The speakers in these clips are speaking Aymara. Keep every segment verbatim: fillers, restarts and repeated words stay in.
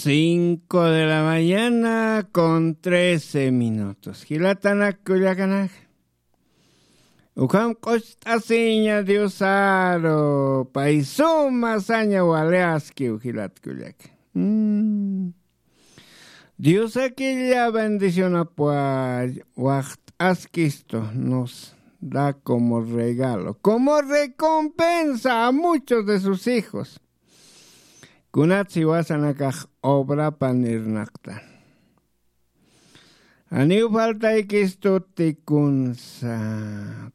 Cinco de la mañana con trece minutos. Jilatanak kullakanak. Ukham q'ucht'asiña Diosaru, pay suma saña wali askiw jilat kullaka. Mm. Diosakilla bendicionapwa waxt'askistu, nos da como regalo, como recompensa a muchos de sus hijos. Kunatsi jiwasanakax obrapan irnaqtan. Janiw faltaykistuti kunsa.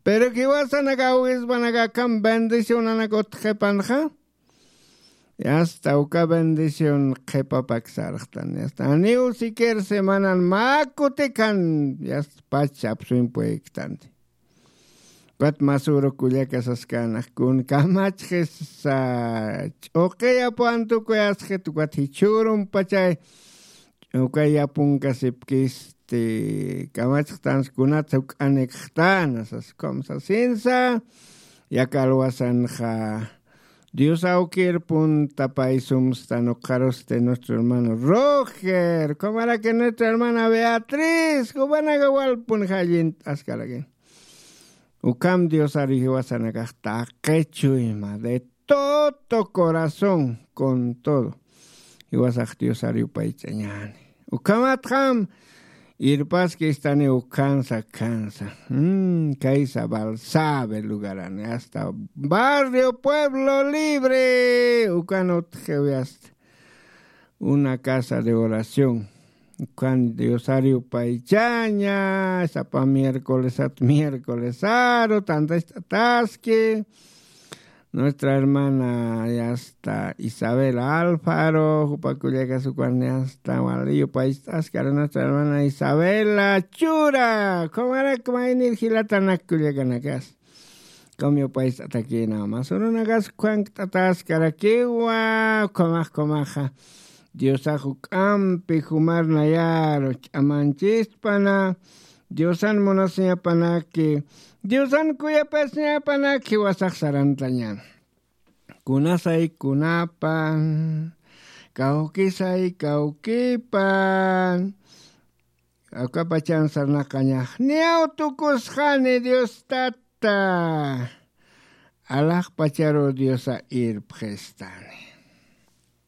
Pero jiwasanaka awispanaka akham bendicionanak utjqipanxa. Yasta uka bendición qhipapak sarxtan. Yasta janiw siquier semanan mä kutikan. Yasta pacha apsuñ puyktanti. Ukat masüru kullaka saskänax kun kamachxisa ch'uqiyapwan tukuyasxit ukat jichhürumpachay uka yapunkasipkisti kamachxtans kunatsa juk'anikxtana sas ukham sasinsa. Yakalwasanxa Dios awkir punta pay sumstan ukxarusti nuestro hermano Roger, ukhamaraki nuestra hermana Beatriz, jumanaka walpun jallint'askarakin. Ukham Diosar jiwasanakax taqi chuyma de todo corazón, con todo. Jiwasax Diosar yupaych'añäni. Ukhamatxam irpaskistani ukhansa, khansa. Mm, kaysa Balsabe lugarani, hasta barrio Pueblo Libre. Ukan utjiwi hasta una casa de oración. Ukan Diosar yupaychaña, sapa miércolesat, miércolesaru, tantacht'ataski. Nuestra hermana yasta Isabela Alfaro, jupa kullakas ukan yasta wali yupaych'askara nuestra hermana Isabela Chura. Ukhamarak maynir jilatanak kullakanakas. Ukham yupaych'atakïna. Masürunakas ukhankt'ataskarakiwa, ukhamax, ukhamaxa. Diosax juk'ampi jumar nayaru ch'amanchispana, Diosan munasiñapanaki, Diosan kuyapasiñapanaki jiwasax sarantañan. Kunasay kunapan, kawkisay kawkipan, akapachan sarnaqañax, niyaw tukusxani Dios Tata, alaxpacharu Diosa irpxistani.